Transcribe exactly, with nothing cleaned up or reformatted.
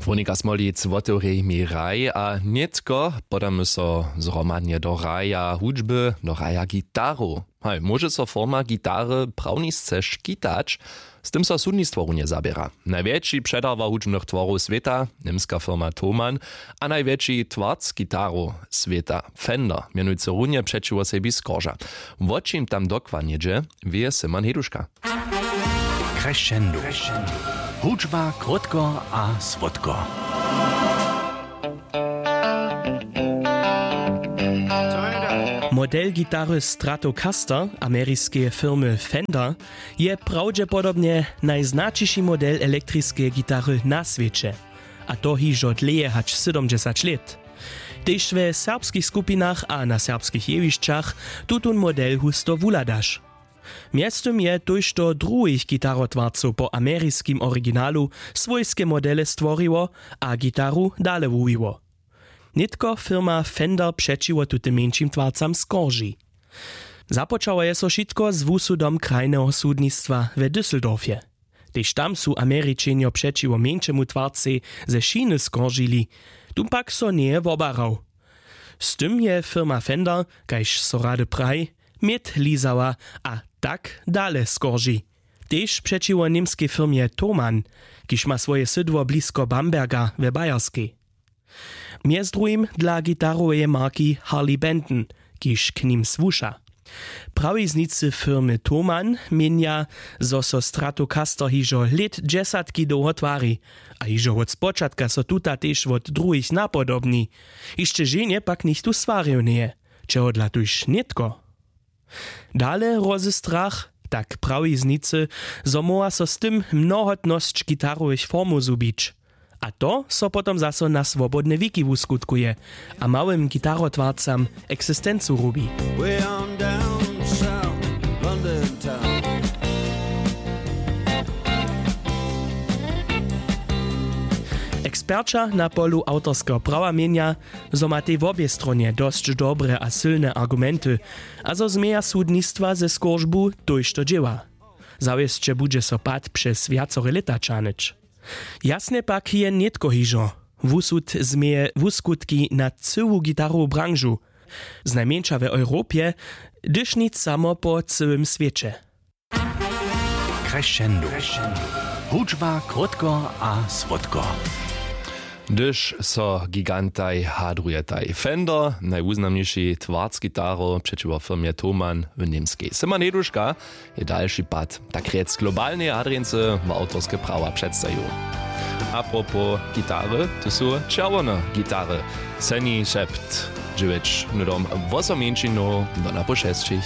Wonika smolic wotewrej mi raj a nětko podamy so zhromadnje do raja hudźby, do raja gitarow. Haj, móže so forma gitary prawnisce škitać? Z tym so sudnistwo runje zaběra. Najwjetši předarba hudźbnych tworow swěta, němska firma thomann, a najwjetši twarc gitarow swěta, fender, mjenujcy runje přećiwo sebi skorža. Wo čim tam dokładnje dźe, wěje simon heduška. Crescendo. Hudźba krótko a słodko. Model gitary Stratocaster ameriskeje firmy Fender je prawdźepodobnje najznaćiši model elektriskeje gitary na swěće, a to hižo dlěje hač sydomdźesać lět. Tež we serbskich skupinach a na serbskich jewišćach tutón model husto wuhladaš. Mjeztym je tójšto druhich gitarotwarcow po ameriskim originalu swójske modele stworiło a gitaru dale wuwiło. Nětko firma Fender přećiwo tutym mjeńšim twarcam skorži. Započało je so wšitko z wusudom krajneho sudnistwa we Düsseldorfje. Tež tam su Američenjo přećiwo mjeńšemu twarcej ze šiny skoržili, tón pak so njeje wobarał. Z tym je firma Fender, kaž so rady praji, měd lizała a tak dale skorži. Tež přećiwo němskej firmje Thomann, kiž ma swoje sydło blisko Bamberga we Bayerskej. Mjez druhim dla gitaroweje marki Harley Benton, kiž k nim słuša. Prawiznicy firmy Thomann měnja, zo so Stratocaster hižo lět dźesatki dołho twari, a hižo wot spočatka so tuta tež wot druhich napodobni. Hišće ženje pak nichtó swarjał njeje, čehodla tuž nětko. Dale rozy strach, tak prawiznicy, zo móhła so z tym mnohotnosć gitarowych formow zhubić. A to so potom zaso na swobodne wiki wuskutkuje a małym gitarotwarcam eksistencu rubi. Eksperća na polu awtorskeho prawa měnja, zo ma tej wobě stronje dosć dobre a sylne argumenty, a zo změja sudnistwa ze skóržbu tójšto dźěła. Zawěsće budźe so pad přez wjacore lěta ćahnyć. Jasnje pak je nětko hižo. Wusud změje wuskutki na cyłu gitarowu branžu, znajmjeńša w europje, hdyž nic samo po cyłym swěće. Crescendo. Hudźba krótko a słodko. Hdyž so gigantaj hadrujetaj, Fender, najwuznamniši twarc gitarow přećiwo firmje Thomann w Němskej, symon heduška je dalši pad, tak rjec, globalneje hadrjeńcy w awtorske prawa předstajił. Apropos gitary, tu su čerwone gitary. Seni šept, dźewjeć hnydom, wosom mjeńšinow do napoł šesćich.